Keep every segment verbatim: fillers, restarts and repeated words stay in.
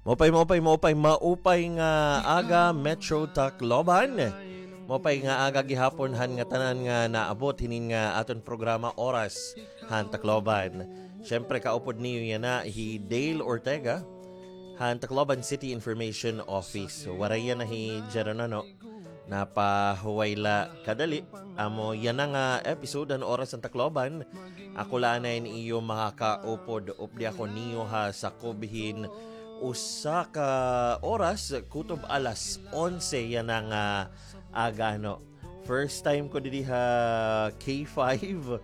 Maupay, maupay, maupay, maupay nga aga, Metro Tacloban. Maupay nga aga gihapon han ngatanan nga naabot hinin nga aton programa Oras han Tacloban. Siyempre, kaupod niyo yana hi Dale Ortega han Tacloban City Information Office. Waray yana hi Geronano. Napahuway la kadali. Amo yana nga episode han Oras han Tacloban. Ako la anay an iyo makakaupod. Updi ako niyo ha sakob hin usa ka oras, kutob alas onse yana nga aga, no. First time ko didi ha K five.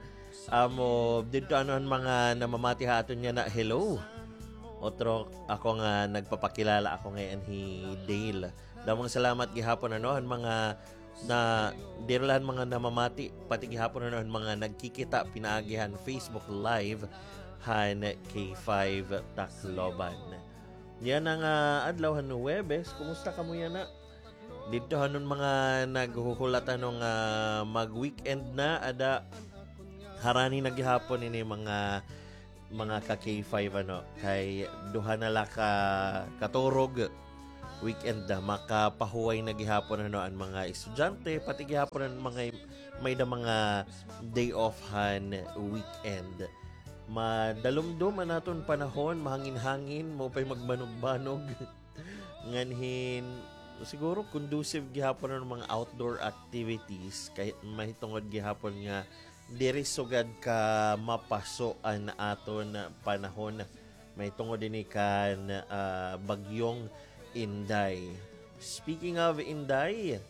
Amo, didto ano an mga namamati ha aton yana, hello. Otro ako nga nagpapakilala, ako ngay-an hi Dale. Damo nga salamat gihapon, ano, han mga na, diri la han mga namamati, pati gihapon, ano, han mga nagkikita pinaagi han Facebook Live han K five Tacloban. Yana nga adlaw han Huwebes, kumusta kamo yana? Didto han mga naghuhulat, ano, nga mag-weekend na, ada harani na gihapon ini mga mga ka K five, ano, kay duha na la ka katurog, weekend na, makapahuway na gihapon, ano, an mga estudyante, pati gihapon an mga may-ada mga day off han weekend. Madalumdom an aton panahon, mahangin-hangin, maupay magbanog-banog. Ngan hin, siguro conducive gihapon an mga outdoor activities, kay mahitungod gihapon nga diri sugad ka mapaso an aton panahon mahitungod ini kan, ah, bagyong Inday. Speaking of Inday,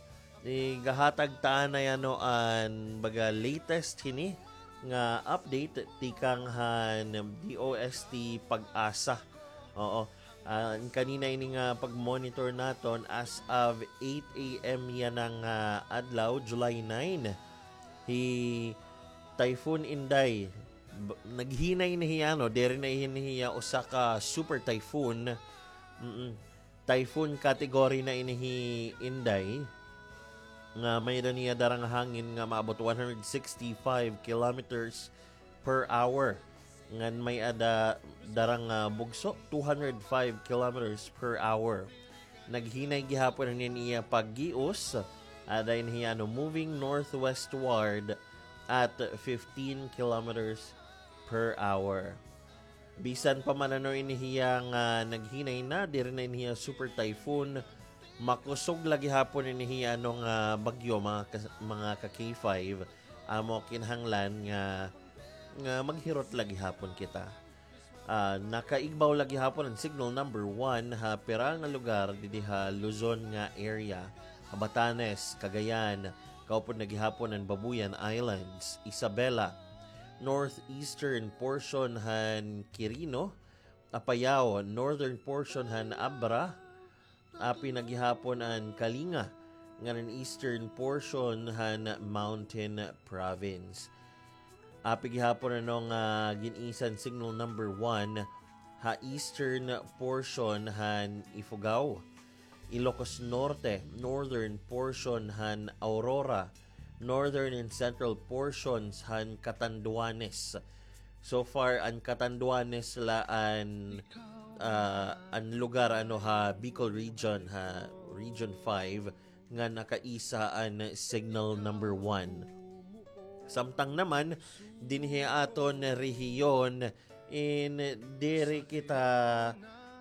igahatag ta anay, ano, an baga latest hini nga update tikang han D O S T PAGASA. Oo. Ah, kanina ini nga pag-monitor naton, as of eight A M yana nga adlaw, July nine, hi Typhoon Inday, b-, naghinay na hiya, no? Diri na ini hiya usa ka super typhoon. Mm-mm. Typhoon category na ini hi Inday, nga may-ada niya dara nga hangin nga maabot one hundred sixty-five kilometers per hour. Ngan may-ada dara nga bugso, two hundred five kilometers per hour. Naghinay gihapon an iya paggios, ada ini hiya, ano, moving northwestward at fifteen kilometers per hour. Bisan pa man, ano, ini hiya nga naghinay na, diri na ini hiya super typhoon, makusog la gihapon ini hiya, ano, nga bagyo, mga ka-, mga ka K five. Amo kinahanglan nga, nga maghirot la gihapon kita. Ah, nakaigbaw la gihapon an signal number one ha pira nga lugar didi ha Luzon nga area, ha Batanes, Cagayan, kaupod na gihapon an Babuyan Islands, Isabela, northeastern portion han Quirino, Apayao, northern portion han Abra, api na gihapon an Kalinga, ngan an eastern portion han Mountain Province. Api gihapon, ano, nga gin-isa an signal number one ha eastern portion han Ifugao, Ilocos Norte, northern portion han Aurora, northern and central portions han Catanduanes. So far, an Catanduanes la an, ah, an lugar, ano, ha Bicol Region, ha Region five, nga nakaisa an signal number one. Samtang naman, dinhi aton rehiyon, in diri kita,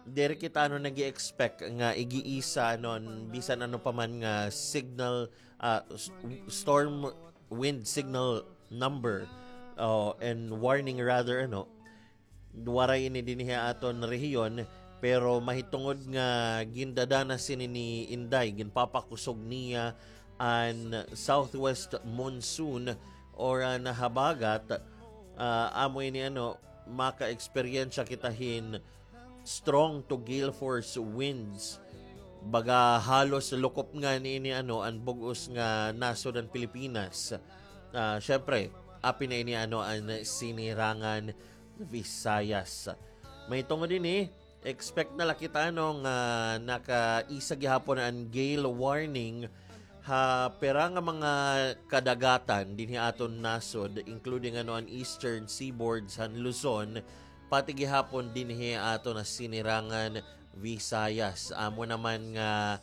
diri kita, ano, nag-i-expect nga igiisa, ano, bisan ano pa man nga signal, ah, s-, storm wind signal number, oh, and warning rather, ano, waray ini dinhi ha aton rehiyon, pero mahitungod nga gindadanas ini ni Inday, ginpapakusog niya an southwest monsoon or an habagat, ah, amo ini, ano, maka-eksperyensya kita hin strong to gale force winds. Baga halos lukop ngani ini, ano, an bug-os nga nasod han Pilipinas. Ah, syempre, api na ini, ano, an Sinirangan Visayas. Mahitungod ini, expect na la kita, ano, nga nakaisa gihapon an gale warning ha pira nga mga kadagatan dinhi aton nasod, including, ano, an eastern seaboards han Luzon, pati gihapon dinhi aton ha Sinirangan Visayas. Amo naman nga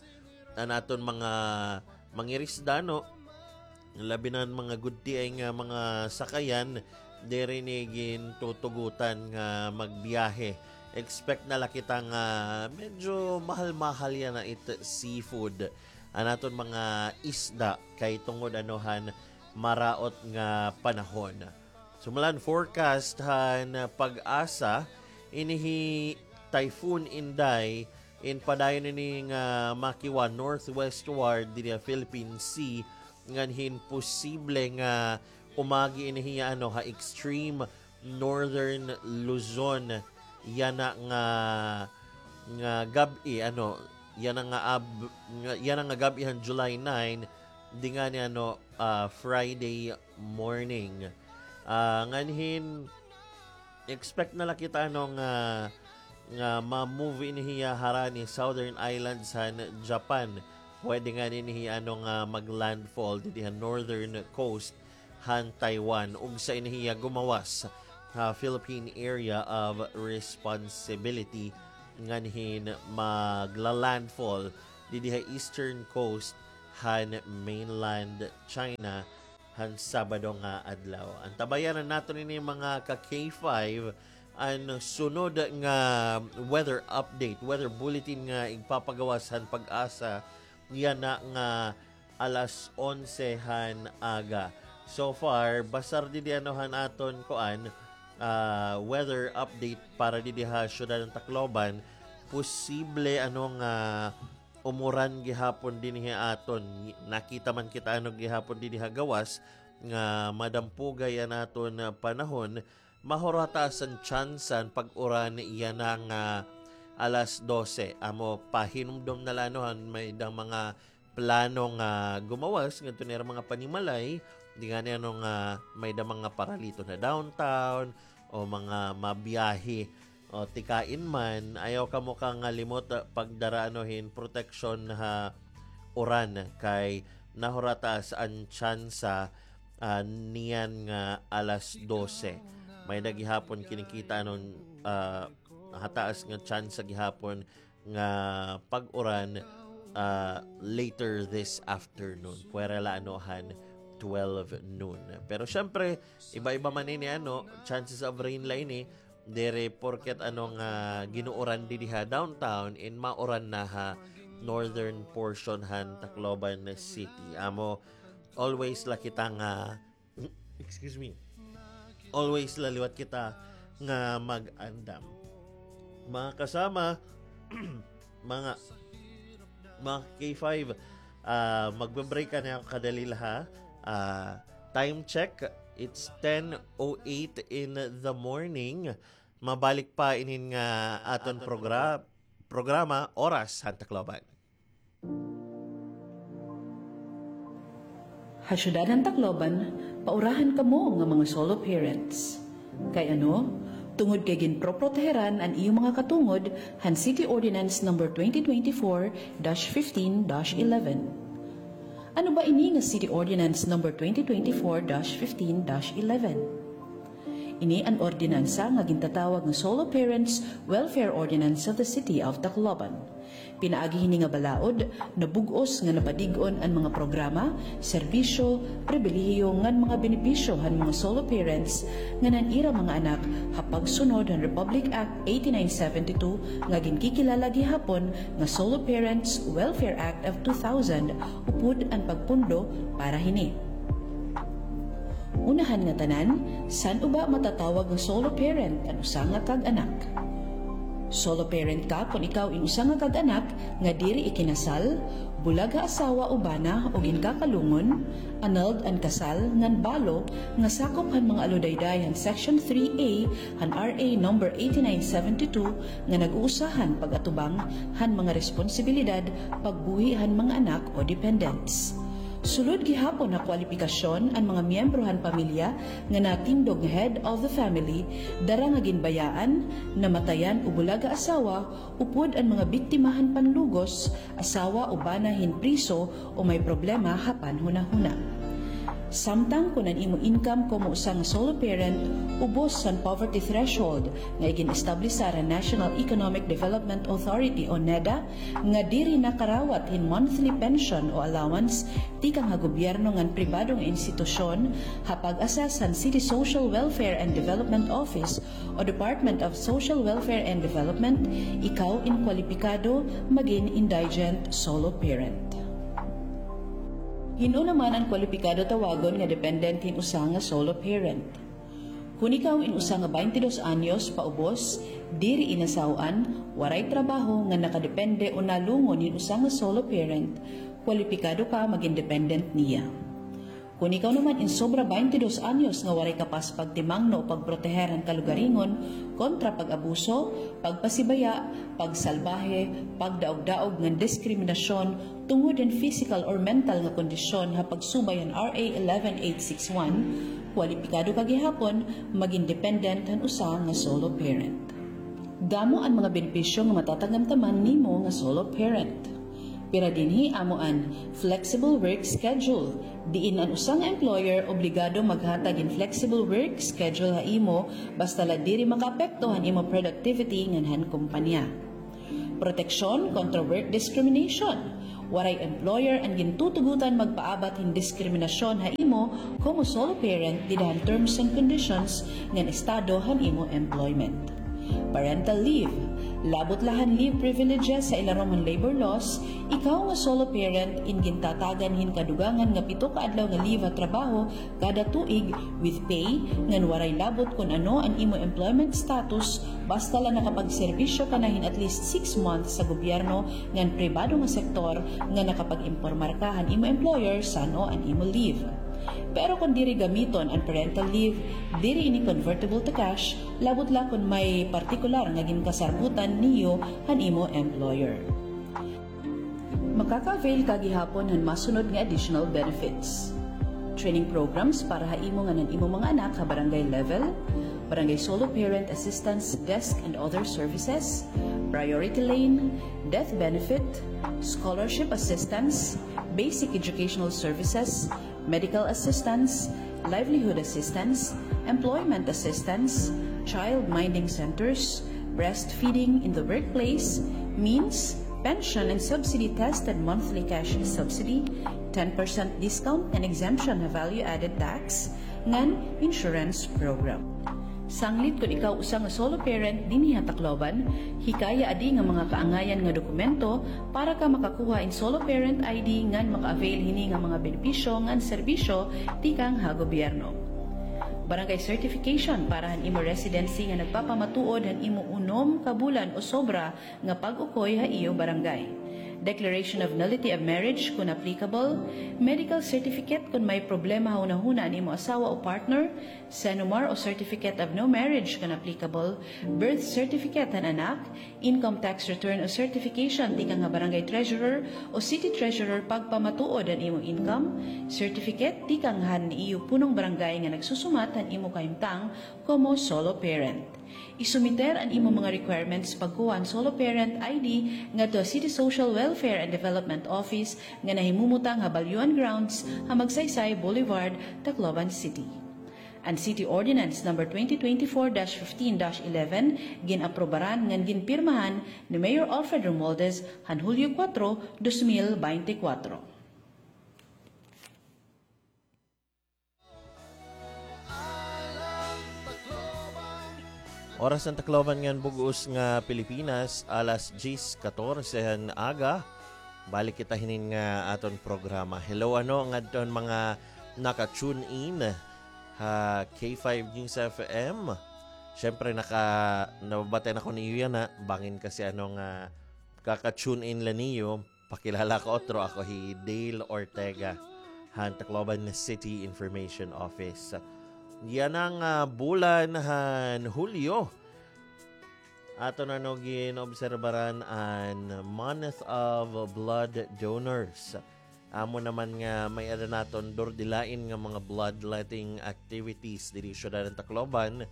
an aton mga mangirisda, no, labi na an mga gudtiay nga mga sakayan, diri ni gintutugutan nga magbiyahe. Expect na la kita nga medyo mahal-mahal yana it seafood. An aton mga isda kay tungod ano han maraot nga panahon. Sumala han forecast han PAGASA, ini hi Typhoon Inday in padayon ini nga makiwa northwestward didi ha Philippine Sea, ngan hin posible nga umagi ini hiya ano ha extreme northern Luzon yana nga, nga gab-i, ano, yana nga ab-, nga, yana nga gab-i han July nine, di ngani ano, ah, Friday morning. Ah, nganhin, expect na la kita, ano, nga, nga ma-move ini hiya harani Southern Islands han Japan. Pwede ngani ini hiya, ano, nga mag-landfall didi ha northern coast han Taiwan, ug sa ini hiya gumawas ha Philippine Area of Responsibility nganhin magla-landfall didi ha eastern coast han mainland China han Sabado nga adlaw. Antabayanan naton ini, mga ka K five, an sunod nga weather update, weather bulletin nga igpapagawas han PAGASA yana nga alas onse han aga. So far, basar didi ano han aton kuan, ah, weather update para didi ha siyudad han Tacloban, posible ano nga umuran gihapon dinhi aton. Nakita man kita ano gihapon dinhi ha gawas nga madampugay an aton panahon, mahurataas an tsansa an pag-uran yana nga alas dose. Amo, pahinumdom na la ano han may-ada mga plano nga gumawas ngadto nira mga panimalay, di ngani ano nga may-ada mga paraliton ha downtown o mga mabiyahe o tikain man, ayaw kamo kangalimot, ah, pagdara ano hin proteksyon ha uran kay nahurataas an tsansa, ah, niyan nga alas dose. May-ada gihapon kinikita anon, ah, hataas nga tsansa gihapon nga pag-uran, ah, later this afternoon. Pwera la ano han twelve noon. Pero syempre, iba-iba man ini ano, chances of rain la ini. Diri porket ano nga ginuuran didi ha downtown, in mauran na ha northern portion han Tacloban City. Amo, always la kita nga, excuse me, always la liwat kita nga mag-andam. Mga kasama, mga, mga K five, ah, magbe-break na ako kadali la ha. Ah, time check, it's ten oh eight in the morning. Mabalik pa inin nga aton progra-, programa, Oras han Tacloban. Ha syudad han Tacloban, paurahan kamo nga mga solo parents. Kay ano? Tungod kay ginproproteheran an iyo mga katungod han City Ordinance Number twenty twenty-four dash fifteen dash eleven. Ano ba ini nga City Ordinance Number twenty twenty-four dash fifteen dash eleven? Ini an ordinansa nga gintatawag nga Solo Parents Welfare Ordinance of the City of Tacloban. Pinaagi hini nga balaod, nabug-os nga napadig-on an mga programa, serbisyo, pribilehiyo ngan mga benepisyo han mga solo parents ngan an ira mga anak ha pagsunod han Republic Act eighty-nine seventy-two nga ginkikilala gihapon nga Solo Parents Welfare Act of two thousand, upod an pagpondo para hini. Una han ngatanan, san-o ba matatawag nga solo parent an usa nga kag-anak? Solo parent ka kon ikaw in usa nga kag-anak nga diri ikinasal, bulag ha asawa o bana o ginkakalungon, annulled an kasal ngan balo nga sakop han mga aludayday han Section three A han R A number eighty-nine seventy-two nga nag-uusahan pag-atubang han mga responsibilidad pagbuhi han mga anak o dependents. Sulod gihapon ha kwalipikasyon an mga miyembro han pamilya nga natindog nga head of the family, dara nga ginbayaan, namatayan o bulag ha asawa, upod an mga biktima han panlugos, asawa o bana hin priso o may problema ha panhunahuna. Samtang kon an imo income komo usa nga solo parent ubos han poverty threshold nga igin-establishar han National Economic Development Authority o NEDA, nga diri nakarawat hin monthly pension o allowance tikang ha gobyerno ngan pribado nga institusyon, ha pag-assess han City Social Welfare and Development Office o Department of Social Welfare and Development, ikaw in kwalipikado magin indigent solo parent. Hin-o naman an kwalipikado tawagon nga dependent hin usa nga solo parent? Kon ikaw in usa nga baynte dos anyos paubos, diri inasaw-an, waray trabaho nga nakadepende o nalungon hin usa nga solo parent, kwalipikado ka magin dependent niya. Kon ikaw naman in sobra baynte dos anyos nga waray kapas pagtimangno o pagproteher han kalugaringon kontra pag-abuso, pagpasibaya, pagsalbahe, pagdaog-daog ngan diskriminasyon tungod hin physical or mental nga kondisyon ha pagsubay han R A eleven eight six one, kwalipikado ka gihapon magin dependent han usa nga solo parent. Damo an mga benepisyo nga matatagamtaman nimo nga solo parent. Pira dinhi amo an flexible work schedule, diin an usa nga employer obligado maghatag hin flexible work schedule ha imo basta la diri makaapekto han imo productivity ngan han kompanya. Proteksyon kontra work discrimination. Waray employer an gintutugotan magpaabat hin diskriminasyon ha imo komo solo parent dida han terms and conditions ngan estado han imo employment. Parental leave. Labot la han leave privileges ha ilarom han labor laws, ikaw nga solo parent in gintatagan hin kadugangan nga pito ka adlaw nga leave ha trabaho kada tuig with pay, ngan waray labot kon ano an imo employment status, basta la nakapagserbisyo ka na hin at least six months sa gobyerno ngan pribado nga sektor ngan nakapag-impormar ka han imo employer san-o an imo leave. Pero kon diri gamiton an parental leave, diri ini convertible to cash, labot la kon may partikular nga ginkasarbutan niyo han imo employer. Makaka-avail ka gihapon han masunod nga additional benefits: training programs para ha imo ngan han imo mga anak ha barangay level, barangay solo parent assistance desk and other services, priority lane, death benefit, scholarship assistance, basic educational services, medical assistance, livelihood assistance, employment assistance, child minding centers, breastfeeding in the workplace, means, pension and subsidy tested monthly cash subsidy, ten percent discount and exemption ha value-added tax, ngan insurance program. Sanglit kon ikaw usa nga solo parent dinhi ha Tacloban, hikaya adi nga mga kaangayan nga dokumento para ka makakuha hin solo parent I D ngan maka-avail hini nga mga benepisyo ngan serbisyo tikang ha gobyerno. Barangay certification para han imo residency nga nagpapamatuod han imo unom ka bulan o sobra nga pag-ukoy ha iyo barangay. Declaration of nullity of marriage kon applicable, medical certificate kon may problema ha hunahuna an imo asawa o partner, CENOMAR o certificate of no marriage kon applicable, birth certificate han anak, income tax return o certification tikang ha barangay treasurer o city treasurer pagpamatuod han imo income, certificate tikang han iyo punong barangay nga nagsusumat han imo kahimtang komo solo parent. Isumiter an imo mga requirements pagkuha han solo parent I D ngadto ha City Social Welfare and Development Office nga nahimumutang ha Balyuan Grounds ha Magsaysay Boulevard, Tacloban City. An City Ordinance Number twenty twenty-four dash fifteen dash eleven gin-aprobaran ngan ginpirmahan ni Mayor Alfred Romualdez han Hulyo kuwatro, dos mil baynte kuwatro. Oras han Tacloban ngan bug-os nga Pilipinas, alas diyes katorse han aga. Balik kita hinin nga aton programa. Hello, ano, ngadto han mga naka-tune in ha K five News F M. Siyempre, naka-, nababatian ako niyo yana, ha. Bangin kasi, ano, nga kaka-tune in la niyo. Pakilala ko otro, ako hi Dale Ortega han Tacloban City Information Office. Yana nga, ah, bulan han Hulyo, aton, ano, gin-obserbaran an Month of Blood Donors. Amo naman nga may-ada naton durdilain nga mga bloodletting activities diri syudad han Tacloban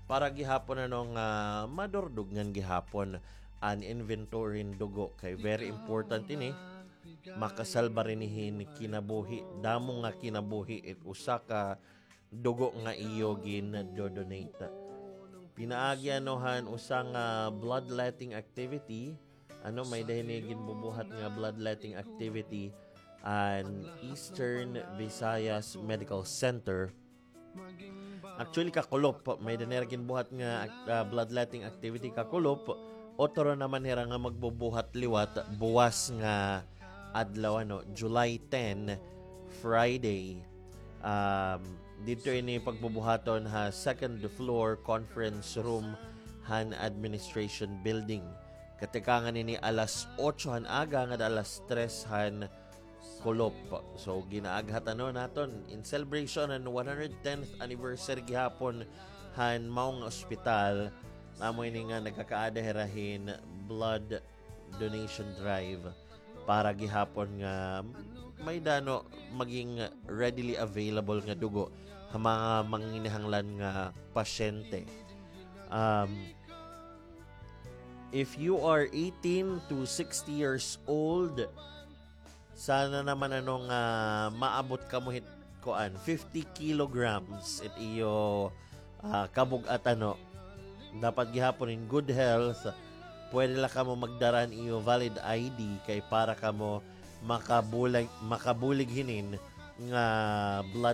para gihapon, ano, nga madurdog ngan gihapon an inventory hin dugo, kay very important ini. makasalba run hin kinabuhi, damo nga kinabuhi, it usa ka dugo nga iyo gin-donate. Pinaagi ano han usa nga bloodletting activity, ano, may-ada hini ginbubuhat nga bloodletting activity an Eastern Visayas Medical Center. Actually, kakulop, may-ada nira ginbuhat nga, ah, bloodletting activity kakulop. Otro naman hira nga magbubuhat liwat buwas nga adlaw, ano, July ten, Friday. Um, didto ini pagbubuhaton ha second floor conference room han administration building. Katikangan ini alas otso han aga ngada alas tres han kulop. So, ginaaghat ano naton in celebration han one hundred tenth anniversary gihapon han mao nga ospital. Amo ini nga nagkakaada hira hin blood donation drive para gihapon nga may-ada ano maging readily available nga dugo ha mga manginahanglan nga pasyente. Um, if you are eighteen to sixty years old, sana naman ano nga maabot kamo hit kuan, fifty kilograms it iyo, ah, kabug-at ano. Dapat gihapon in good health. Pwede la kamo magdara han iyo valid I D kay para kamo makabulig, makabulig hinin nga blood